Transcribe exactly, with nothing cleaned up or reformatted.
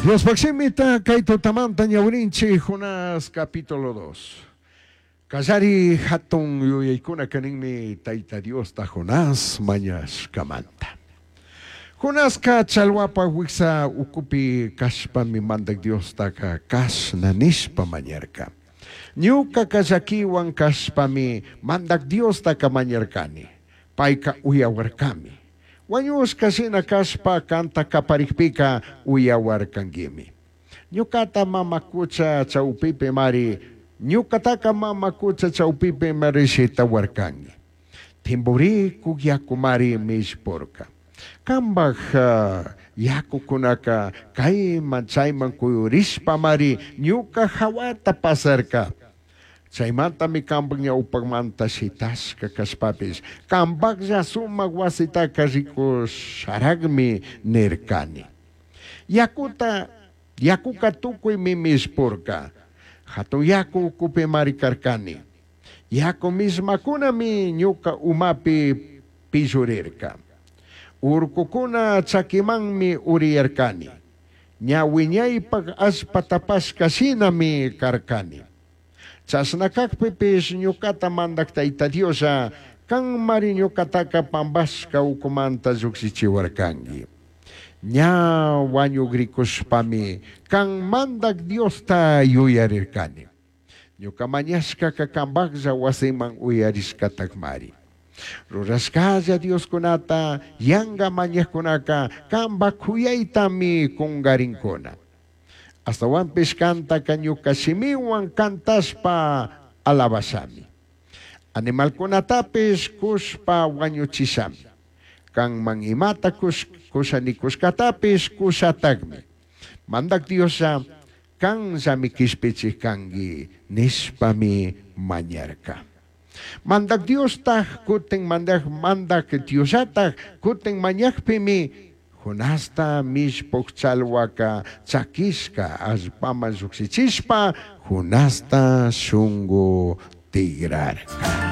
Diospaj shimita kay tutamanta ñawirinchik Jonás capítulo dos. Kallari hatun yuyaykunaka ninmi Tayta Diosta Jonás mañashkamanta. Jonaska chalwapa wiksa ukupi kashpami mandak Diostaka kashna nishpa mañarka. Ñuka llakiwan kashpami mandak Diostaka mañarkani. Payka uyawarkami. Wañushka shina kashpa kanta kaparikpika uyawarkanguimi. Ñukata mama kucha chawpipi mari, ñukataka mama kucha chawpipi mari shitawarkangi. Timburikuk yakumari mishpurka. Kambaj uh, yakukunaka kayman chayman kuyurishpa mari ñuka hawata pasarka. Chaymantami kambaj ñawpakmanta shitashka kashpapish kambajlla sumak wasitaka rikusharagmi nirkani. Yakuta yakuka tukuymi mishpurka. Hatun yaku ukupi mari karkani. Yaku mismakunami ñuka umapi pillurirka. Urkukuna chakimanmi uriyarkani. Ña wiñaypak allpa tapashka shinami karkani. Chashna kakpipish ñukata mandak Tayta Dioslla kanmari ñukataka pambashka ukumanta llukshichiwarkanki. Ña wañugrikushpami kan mandak Diosta yuyarirkani. Ñuka mañashkaka kambaklla wasiman uyarishkatakmari. Rurashkalla Dioskunata yanka mañajkunaka kambak kuyaytami kunkarinkuna. Astawanpish kantaka ñuka shimiwan kantashpa alabashami. Animalkunatapish kushpa wañuchishami. Kanman imata kush, kushanikushkatapish kushatakmi. Mandak Dioslla kanllami kishpichik kanki nishpami mañarka. Mandak Diostaj kutin mandak mandak Diosllataj kutin mañakpimi Jonasta mishpuk chalwaka chakishka allpaman llukshichishpa Jonasta shungu tigrarka.